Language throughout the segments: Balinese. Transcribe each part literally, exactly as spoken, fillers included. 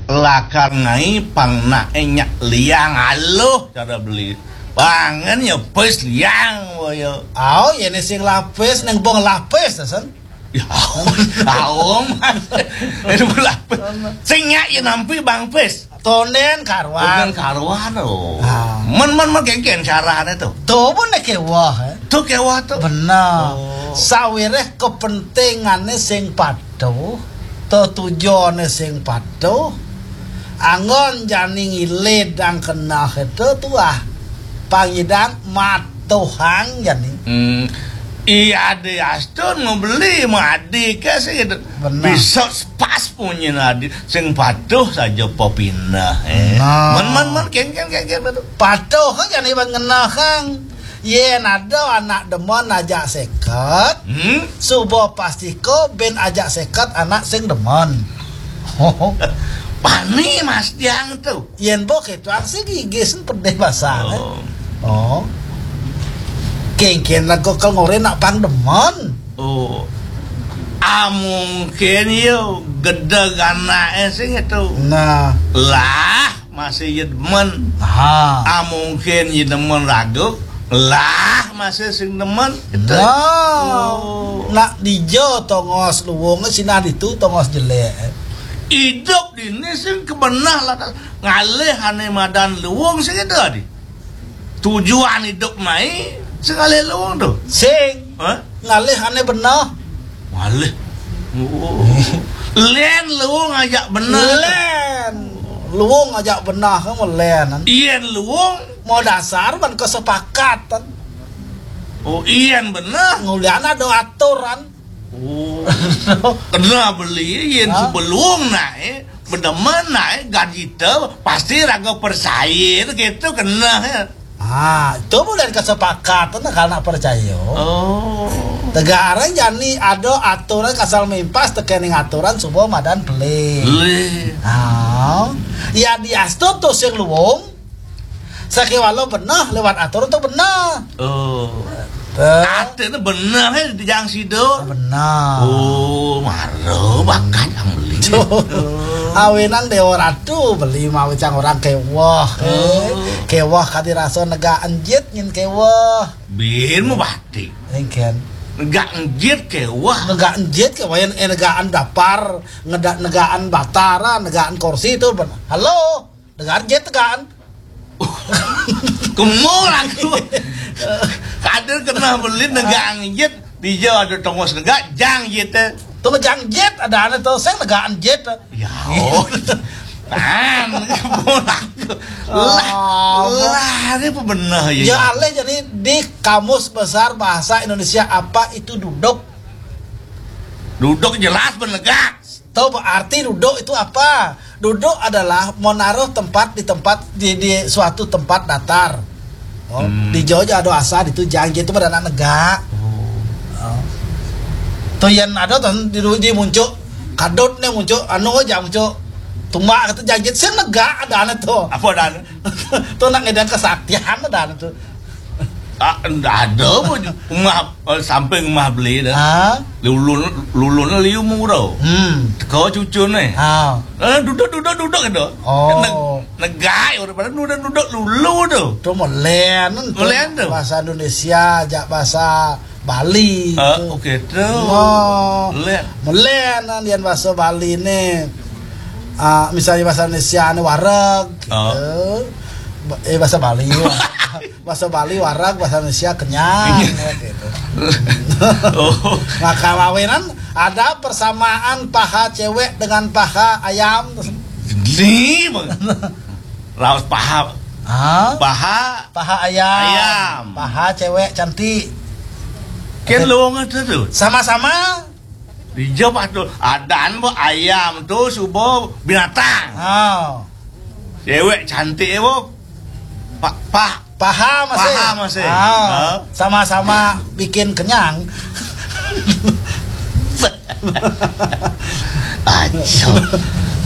Lakar ngai pang nak enyak liang aluh cara beli. Pangan ya pis liang waya. Au, ya ne sing lapis, neng bong lapis, sen. Ya, aung, aung, Mas. Itu lapis. Sing nyak ya nampi bang pis. Tonden karuan. Tonden karuan, oh. Ah. Men, men, men, kengken carane tuh. Tuh pun ne kewah, eh. Tuh kewah tuh. Benar. Oh. Sawireh kepentingane sing patuh, tetujone sing patuh, anggon jani ngilid dang kenah itu tuah. Pangidang matuhang jani. Hmm. Iya, ade astun mau beli, mau adi ke sih gitu. Benar. Bisa pas punya adi, sing patuh saja popinah, eh. Nah. Men, men, men, kengken, kengken, betul. Patuh kan jani bang ngenah kang. Yen ada anak demen ajak seket, hmm? Suba pastiko ben ajak seket anak sing demen. Pani Mas Tiang tuh. Yen bok itu aksi gigis pedih basang, eh. Oh. Oh. Kengken lagu kel ngore nak pang demen. Oh. Ah, mungkin yo gedeg anake sing itu. Nah. Lah, masih ye demen. Aha. Ah, mungkin ye demen ragu. Lah, masih sing demen. Itu. Nah. Oh. Nak dija tongos luwung, sinah ditu tongos jelek. Idup dini sing kebenah lah, ngalih ane madan luwung sing itu adi. Tujuan idup mai sing ngalih luwung tuh. Sing. Hah? Ngalih ane benah. Ngalih. Oh. Len luwung ajak benah. Len. Luwung ajak benah, kamu len. Yen luwung. Mau dasar ban kesepakatan. Oh, yen benah. Ngulian ada aturan. Oh. Kena beli, yen, hah? Sebelum naik, bedemen naik gaji te, pasti raga percaya gitu kena, ya. Ah, itu bukan kesepakatan kalau nak percaya. Oh. Tegarang jani ada aturan kasal mimpas tekening aturan suba madan beli. Beli. Ah. Ya diastu tuh sing luwung. Sakewala benah lewat aturan tuh benah. Oh. Tuh. Katanya benah, eh, di jang sido. Benah. Oh, mara bakat yang beli. Tuh. Awinan Dewa Ratu beli mawi cang orang kewah, eh. Oh. Kewah kadi rasa negak enjit nyin kewah. Bin mau batik. Engken. Negak enjit kewah. Negak enjit kewah, yen, eh, negaan dapar, ngedak negaan batara, negaan kursi itu benah. Halo. Negaan jit tegaan. Kemul aku. Kader kena beli negaan jit. Dija ada tongos negak, jang jit, eh. Tuh jang jit, ada ane tuh, sing negaan jit. Ya, oh. Tan, kemul aku. Lah, oh, lah, ini apa bener ya? Ya, alih jadi di Kamus Besar Bahasa Indonesia apa itu duduk? Duduk jelas benegak. Tahu arti duduk itu apa? Duduk adalah menaruh tempat di tempat di, di suatu tempat datar. Oh, hmm. Di Jawa ada asa di itu jang jit itu pada anak negak. Oh. Oh. Tuh yang ada tuh di, di muncul kadut nih muncul anu aja muncul tumbak kata jang jit sing negak ada ane tuh. Apa ada ane? Tuh nak ngedang kesaktian ada ane tuh. Ah, ndak ada pun. Umah, eh, samping umah beli dah. Ah? Lulun, lulun liu mura. Hmm. Teka cucu ni. Ah. Eh, duduk, duduk, duduk gitu. Oh. Neg-, negai orang pada duduk, duduk lulu tu. Tu melen tu. Melen tu. Bahasa Indonesia, jak bahasa Bali. Ah, tu. Okey tu. Oh. Melen. Melen kan, yang bahasa Bali ni. Ah, misalnya bahasa Indonesia ni wareg, gitu. Ah. Ba-, eh, bahasa Bali. Bahasa Bali wareg, bahasa Indonesia kenyang, iya, gitu. Oh. Maka mawinan ada persamaan paha cewek dengan paha ayam. Ni, Bang. Raus paha. Hah? Paha. Paha ayam. Ayam. Paha cewek cantik. Kan lowong tu tu. Sama-sama. Dijawab tu. Adan bu ayam tu subo binatang. Oh. Cewek cantik bu. Pak, pak. Paha masih. Paha masih. Ah, ha? Sama-sama bikin kenyang. Aja.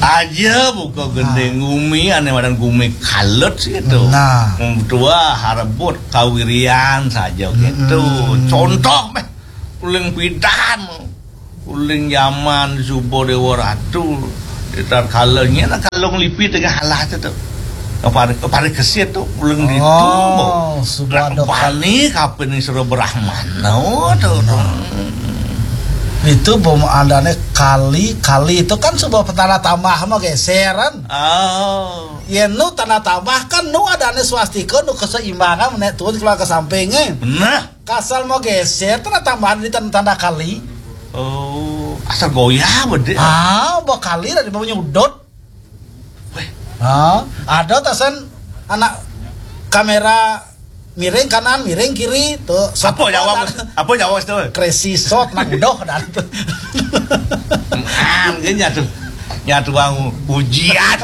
Aja buka gending gumi, ane madan gumi kalut sih itu. Nah. Tua harebut kawirian saja gitu. Mm-mm. Contoh meh. Uling pidan. Uling zaman suba Dewa Ratu. Tatkala nyén kalung lipi tengah alas tu. Pari, pari kesit tu, ulun ditu. Oh, suba ada bani kapin ning sira Brahmana tu. Nah. Itu pemandane kali, kali itu kan suba tanda tambah mah geseran. Oh. Yen nu tanda tambah kan nu adane swastika, nu keseimbangan, nek tuun keluar ke sampingnya. Nah. Kasal mau geser, tanda tambahan di tanda, tanda kali. Oh, asal goyah bede. Ah, ba kali dari bawah nyudut. Weh. Ah, ada tasan anak kamera miring kanan, miring kiri, tuh. Apa Jawab? Apa Jawab tu? Crazy shot, nak udah dah tu. Ah, mungkin nyatu, nyatu bang ujian.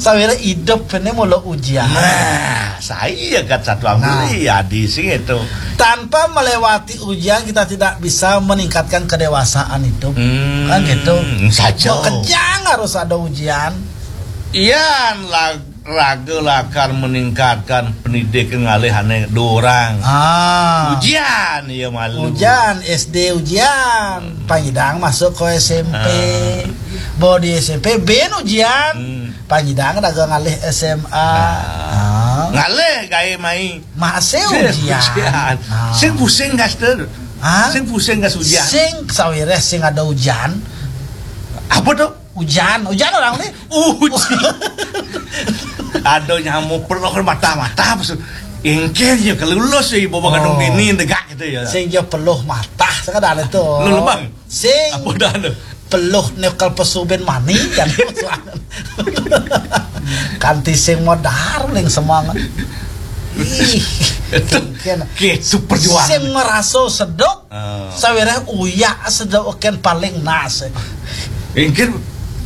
Sawira idup ini mula ujian. Nah, saya kat satu nah. Beli adi sing itu. Tanpa melewati ujian, kita tidak bisa meningkatkan kedewasaan hidup. Hmm, kan gitu. Saja. Mau kejang harus ada ujian. Iya, lag-, raga lakar meningkatkan pendidikan ngalih ane dua orang. Ah. Ujian, iya malu. Ujian, S D ujian. Hmm. Panyidang masuk ke S M P. Ah. Bawa di S M P, bin ujian. Hmm. Panyidang dagang ngalih S M A. Ah. Ngalih gawe mai. Masih ujian. Ujian. Ah. Sing pusing gas tu. Ah? Sing pusing gas ujian. Sing sawireh sing ada ujian. Apa tu? Ujian, ujian orang ni. Ujian. Ada nyamuk perlu mata-mata maksud. Engkel je kalau lulus je bawa kadung oh. Bini degak gitu ya. Sing je peluh mata sekadar itu. Lu lebang. Sing apa dah tu? Peluh nekal pesubin mani kan. Kanti sing modar ling semangat. Ih, itu kan. Ke super juang. Sing merasa sedok. Oh. Sawireh uyak sedok ken paling nas. Mungkin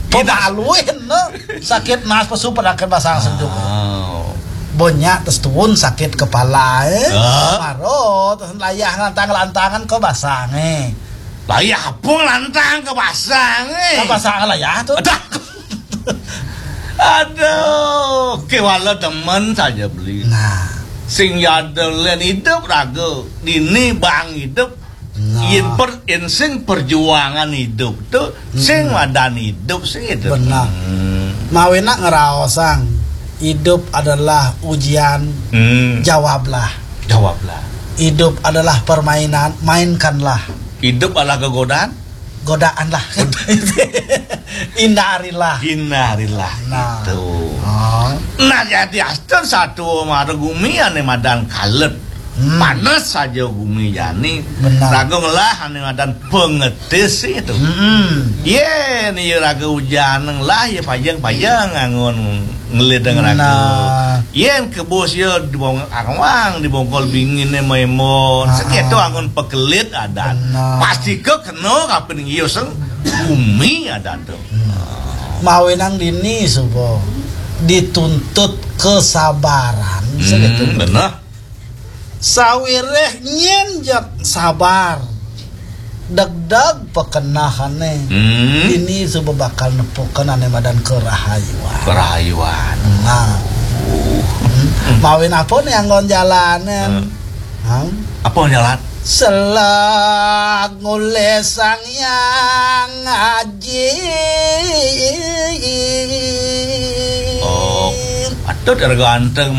pemaluin no. Sakit nas pesu padakan basang sedok. Oh. Banyak terus tuun sakit kepala eh. Oh. Maro terus layah lantang-lantangan ke basang eh. Layah apa lantang ke basang eh? Ke basang layah tu. Aduh. Aduh, kewala demen saja beli. Nah. Sing yada len hidup raga. Dini bang hidup. Nah. Yen per, yen sing perjuangan hidup tu, sing madan hidup sing hidup. Benar. Hmm. Mawinan ngraosang hidup adalah ujian. Hmm. Jawablah. Jawablah. Hidup adalah permainan, mainkanlah. Hidup adalah kegodaan. Godaan lah. Hindarilah. Hindarilah. Nah. Gitu. Oh. Nah, jadi astun satu mara gumi ane madan kalet. Hmm. Panas saja gumi jani. Benar. Raga ngelah ane madan pengetis itu. Hmm. Yen iya raga ujan ngelah ya pajang-pajang angon ngelidang raga. Nah. Yen kebus ya dibong-, angwang dibongkol bingine maimon. Ah. Seketo angon pekelit adan. Benar. Pasti ke kena kapin iya seng bumi adan tu. Hmm. Mawinan dini suba dituntut kesabaran. Hmm, segitu. Benar. Sawireh nyen jak sabar. Degdeg pekenahane. Hmm. Dini suba bakal nepukan ane madan kerahayuan. Kerahayuan. Nah. Hmm. Mawin apa nih anggon jalanan? Hmm. Hah? Apa jalan? Selag ngulih Sang Hyang Aji. Oh, patut harga anteng